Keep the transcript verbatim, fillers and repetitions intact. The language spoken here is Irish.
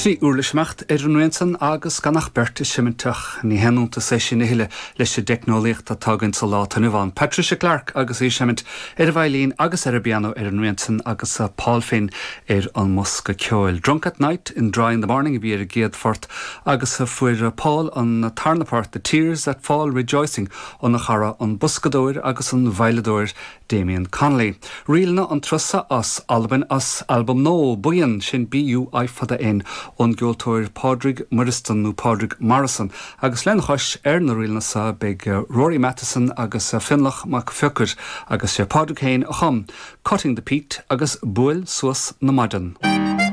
Trí uirlis ag imeacht ar an rian san agus gan ach beirt ag seimint ach ní haon iontas é sin a thuilleadh leis an dteicneolaíocht atá againn sa lá atá inniu ann. Patricia Clark agus í ag seimint ar an veidhlín agus ar an bpianó ar an rian san agus Paul Finn ar an mbosca ceoil. Drunk at Night and Dry in the Morning a bhí ar an gcéad phort agus fuair Paul an tarna port The Tears That Fall Rejoicing óna chara an boscadóir agus an veidhleadóir Damien Connolly. Ríleanna an turas seo as Albain as albam nua Buíon sin BUI fada N ón gceoltóir Pádraig Muiristan nó Pádraig Morrison, agus lena chois ar na ríleanna seo beidh Rory Matheson agus Fionnlach Mac Fiocair agus sé Pádraig féin a chum, Cutting the Peat agus Buail suas na maidan.